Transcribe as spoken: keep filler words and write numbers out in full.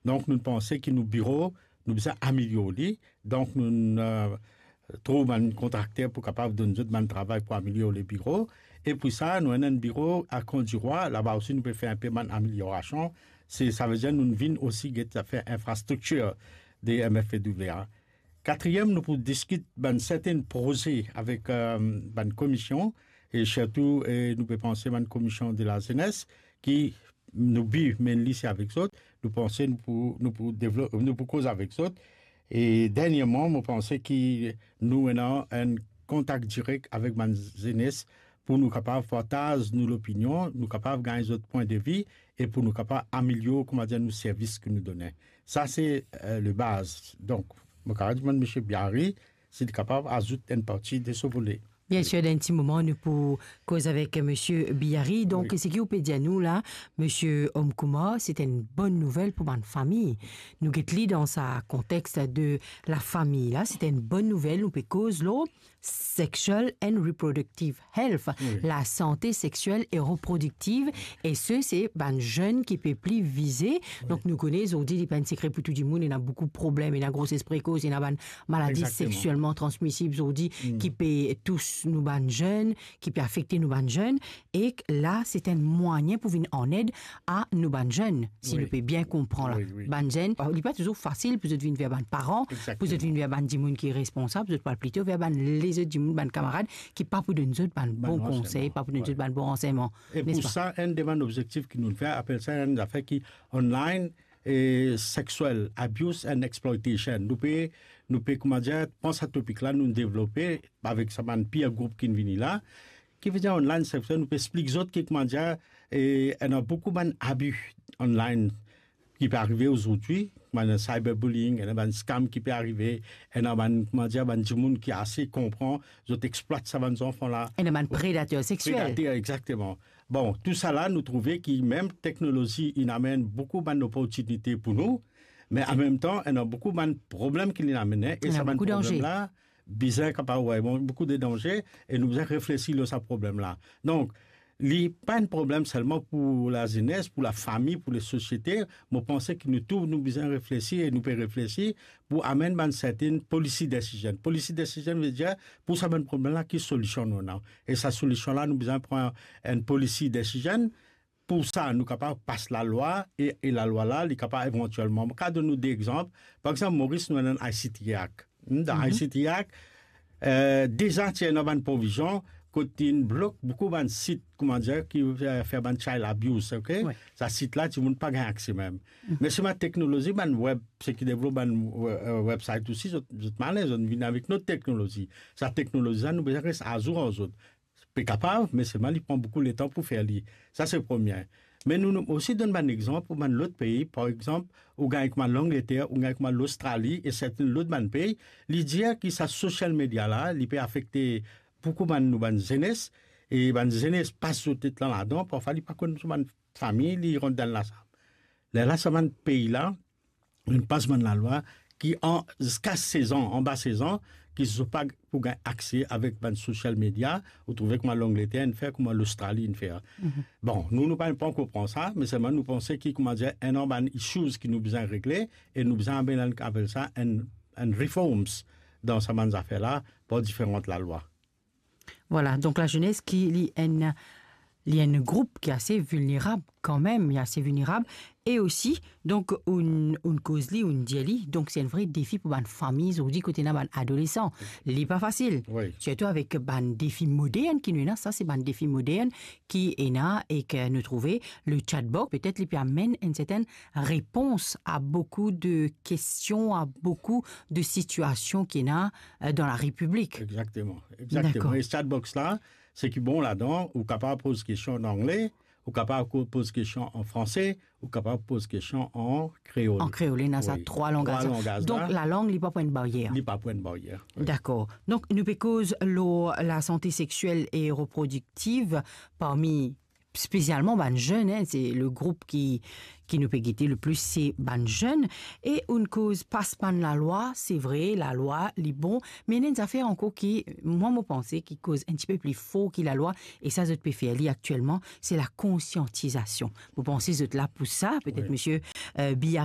Donk, nou panse ki nou biro, nou bizin amelior li. Donk, nou, eh, trouv bann kontrakter pou kapav donn zot bann travay pou amelior le biro. E pou sa, nou ena enn biro a Camp du Roi, laba osi nou pe fer enpe bann ameliorasion. Se, savedir nou vinn osi get zafer infrastriktir de M F P W A. Katriem, nou pou diskit bann sertenn proze avek, eh, bann komision, e sirtou, eh, nou pe panse bann komision de lazenes, ki nou bi mainly se avek zot, nou panse nou pou, nou pou devlop, nou pou koz avek zot. E dernierman, mo panse ki nou ena enn kontak direk avek bann zenes pou nou kapav partaz nou lopinion, nou kapav gagn zot pwin de vi e pou nou kapav amelior, koumadir, nou servis ki nou done. Sa se, eh, le baz. Donk, mo kapav demann Misie Biary si li kapav azout enn parti de so vole. Bien sir, dan enn ti moman, nou pou koz avek Misie Biary. Donk, wi, seki ou pe dir nou la, Misie Omkoumar, se enn bonn nouvel pou bann fami. Nou get li dan sa kontex de lafami la, se enn bonn nouvel, nou pe koz lor sexual and reproductive health, wi, lasante sexiel e reprodiktiv, e se, se bann zenn ki pe pli vize. Wi. Donk, nou kone, zordi, li pa enn sekre pou tou dimoun, ena boukou problem, ena groses prekos, ena bann maladi, egzakteman, sexuelman transmisib zordi, mm, ki pe tous nou bann zenn, ki pe afekte nou bann zenn, e la, se enn mwayin pou vinn an ed a nou bann zenn, si, wi, nou pe bien konpran la. Wi, wi. Bann zenn, li pa touzour fasil pou zot vinn ver bann paran, egzakteman, pou zot vinn ver bann dimoun ki responsab, zot pou al plito ver bann lezot dimoun, bann kamarad, ki pa pou donn zot bann, bann bon ransegman, konsey, pa pou donn, wi, zot bann bon ransegman, nespa? E pou sa, enn de bann obzektif ki nou fer, apel sa enn zafer ki online, e sexual abuse and exploitation. Nou pe, nou pe, koumadir, pran sa topik la, nou devlope avek sa bann peer group ki vini la, ki vedir online sexual, nou pe explik zot ki, koumadir, e, ena boukou bann abi online ki pe arive ozordi, bann cyberbullying, ena bann scam ki pe arive, ena bann, koumadir, bann dimoun ki ase konpran, zot explwat sa bann zanfan la. Ena bann predater sexiel. Predater, egzakteman. Bon, tousala, nou trouve ki mem teknolozi, inn amenn boukou bann loportinite pou nou, me anmemtan, ena boukou bann problem ki linn amenn, e sa bann problem la, bizin kapav, wi, bon, boukou de danze, e nou bizin reflesi lor sa problem la. Donk, li pa enn problem selman pou lazenes, pou lafami, pou lesosiete. Mo panse ki nou tou, nou bizin reflesi e nou pe reflesi pou amenn bann sertenn policy decision. Policy decision vedir, pou sa bann problem la, ki solision nou ena? E sa solision la, nou bizin pran enn policy decision. Pou sa, nou kapav pas lalwa e, e lalwa la, li kapav evantielman. Mo kapav donn nou de exanp. Par exanp, Moris, nou ena enn I C T Act. Hmm, dan, mhm, I C T Act, eh, deza ti ena bann provizion kot inn blok boukou bann sit, koumadir, ki, eh, fer bann child abuse, ok? Wi. Sa sit la, dimoun pa gagn akse mem. Mhm. Me selman teknolozi, bann web, seki devlop bann, eh, website osi, zot, zot malin, zot vinn avek lot teknolozi. Sa teknolozi la, nou bizin res azour ar zot. Pe kapav, me selman li pran boukou letan pou fer li. Sa se premie. Me nou, nou osi donn bann exanp pou bann lot pei. Par exanp, ou gagn kouma Langleter, ou gagn kouma Lostrali e sertenn lot bann pei, li dir ki sa social media la, li pe afekte boukou bann, nou bann zenes, e bann zenes pas zot tet la ladan, parfwa li pa konn so bann fami, li rant dan lasam. Lerla sa bann pei la, inn pas bann lalwa ki an, ziska sez an, anba sez an, ki zot pa pou gagn akse avek bann social media, ou trouve kouma Langleter inn fer, kouma Lostrali inn fer. Mhm. Bon, nou, nou pa, pa ankor pran sa, me selman nou panse ki, koumadir, ena bann issues ki nou bizin regle, e nou bizin amenn, apel sa, enn, enn reforms dan sa bann zafer la, par diferan lalwa. Vwala, donk lazenes ki li enn, li enn group ki ase vilnerab kanmem, li ase vilnerab, e osi, donk, ou'nn, ou'nn koz li, ou'nn dir li, donk se enn vre defi pou bann fami, zordi kot ena bann adolesan. Li pa fasil. Wi. Sirtou avek bann defi modern ki nou ena, sa se bann defi modern ki ena e ki nou trouve le chatbot, petet li pe amenn enn sertenn repons a boukou de kestion, a boukou de sitiasion ki ena, eh, dan larepiblik. Egzakteman, egzakteman. Dakor. E chatbox la, seki bon ladan, ou kapav poz kestion an angle, ou kapav ko-, poz kestion an franse, ou kapav poz kestion an kreol. An kreol, ena sa, wi, trwa langaz. Trwa langaz la. Donk, lalang, li pa pou enn baryer. Li pa pou enn baryer, wi. Dakor. Donk, nou pe koz lor lasante sexiel e reprodiktiv parmi spesialman bann zenn, hein, se le group ki, ki nou pe gete le plis, se bann zenn. E ou'nn koz pas bann lalwa, se vre, lalwa, li bon, me ena enn zafer ankor ki, mwa, mo panse, ki koz enn tipe pli for ki lalwa, e sa, zot pe fer li aktielman, se lakonsiantizasion. Mo panse zot la pou sa, petet, wi, misie, euh, Biary,